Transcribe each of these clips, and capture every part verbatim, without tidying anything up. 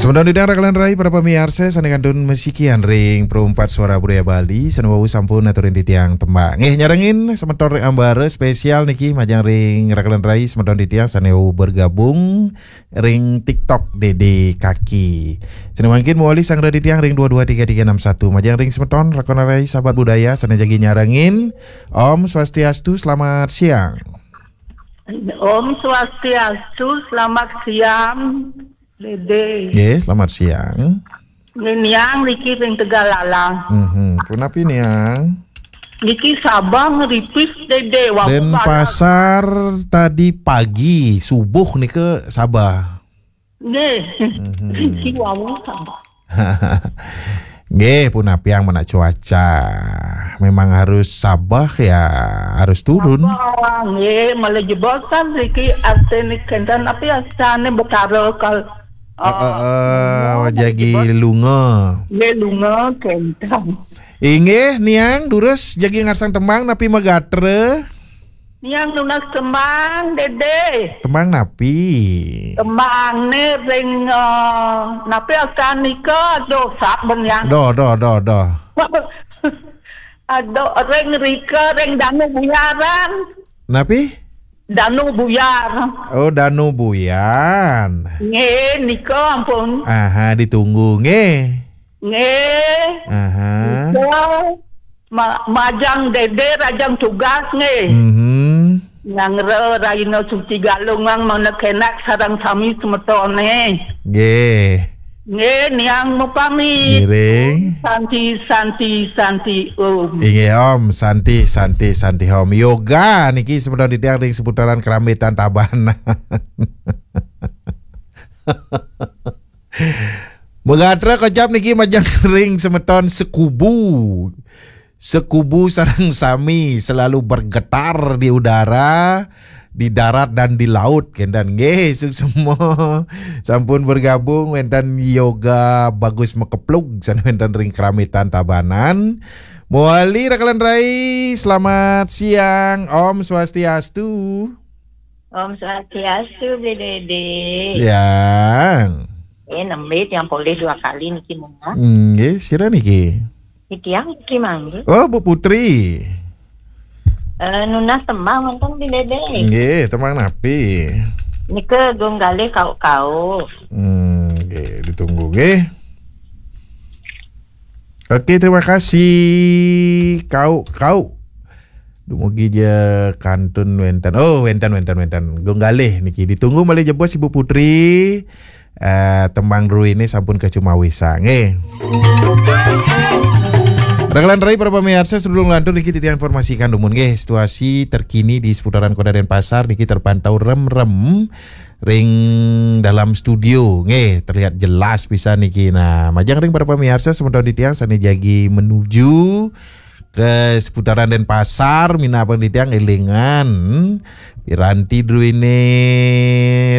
Semeton titiang raka lan rai para pamiarsa sané kantun masikian ring Perumpat Suara Budaya Bali, sané wau sampun aturin titiang tembang. Nggih, nyarengin semeton ring ambara spesial niki majeng ring raka lan rai semeton titiang sané wau bergabung ring TikTok Dede Kaki. Sané mangkin mawali sanggra titiang ring dua dua tiga tiga enam satu. Majeng ring semeton raka lan rai sahabat budaya sané jagi nyarengin. Om Swastiastu, selamat siang. Om Swastiastu, selamat siang, Dede. Nggih, selamat siang. Nggih, Niang niki ring Tegallalang. Mhm. Punapi, Niang? Niki Sabah ngeripis, Dede. Wah, Denpasar tadi pagi, subuh nika Sabah. Nggih. Mhm. Niki wau Sabah. Nggih, punapi, Niang, mana cuaca? Memang harus Sabah ya, harus turun. Sabah, nggih, malih jebos kan niki artiné kénten, napi asané Betara kal-, Eh, eh, eh, eh, jagi jebos lunga. Nggih, lunga kénten. Inggih, Niang, durus jagi ngarsang tembang napi magatra? Niang nunas tembang, Dede. Tembang napi? Tembangné ring, eh, napi asané nika, aduh, saben Niang. Doh, doh, doh, doh. Aduh, ring rika, ring Danu Buyaran. Napi? Danu Buyar. Oh, Danu Buyan. Nggih, nika ampun. Aha, ditunggu nggih. Nggih. Aha. Nika ma-, majeng Dede rajang tugas nggih. Mhm. Nyanggra raina suci Galungan mangda kénak sareng sami semetoné. Nggih. Nggih, Niang mupami. Ngiring. Santi, santi, santi, Om. Inggih, Om. Santi, santi, santi, Om. Yoga niki semeton titiang ring seputaran Keramitan Tabanan. Magatra kocap niki majeng ring semeton sekubu. Sekubu sareng sami selalu bergetar di udara, di darat dan di laut, kénten. Nggih, suksma. Sampun bergabung wénten Yoga Bagus Makeplug, sané wénten ring Keramitan Tabanan. Mawali raka lan rai, selamat siang. Om Swastiastu. Om Swastiastu, Bli Dede. Siang. Eh, nembé tiang polih dua kali niki, Nuna. Nggih, sira niki? Titiang niki mangga. Oh, Bu Putri. Eh, nunas tembang wénten, Bli Dede. Nggih, tembang napi? Nika Gung Galih Kauk-kauk. Hmm, nggih, ditunggu nggih. Oke, terima kasih. Kauk-kauk. Dumugi ja kantun wénten. Oh, wénten, wénten, wénten. Gung Galih niki. Ditunggu malih jebos Ibu Putri. Eh, tembang druéné sampun kacumawisang nggih. Raka lan rai para pamiarsa, sadurung lantur niki titiang informasikan dumun nggih, situasi terkini di seputaran Kota Denpasar niki terpantau remrem ring dalam studio nggih, terlihat jelas pisan niki. Nah, majeng ring para pamiarsa semeton titiang sané jagi menuju ke seputaran Denpasar, minab titiang élingan piranti druéné,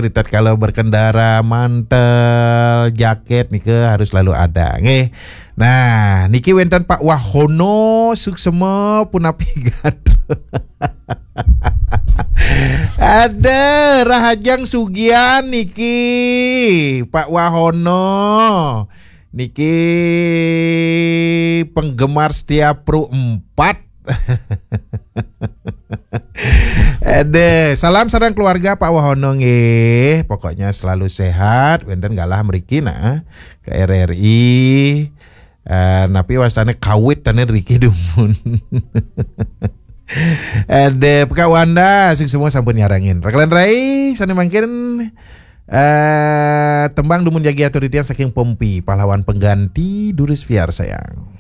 ritatkala berkendara, mantel, jaket nika harus selalu ada nggih. Nah, niki wénten Pak Wahono, suksma punapi gatra. Ada Rahajeng Sugian niki, Pak Wahono. Niki penggemar setia Pro empat. Ada, salam sareng keluarga Pak Wahono nggih. Pokoknya selalu sehat, wénten galah mriki nah ke R R I. Eh, napi wastané kawit tané riki dumun. Ada, Pak Wanda, suksma sampun nyarengin. Raka lan rai, sané mangkin, eh, tembang dumun jagi atur titiang saking Pompi, Pahlawan Pengganti, durus piarsayang.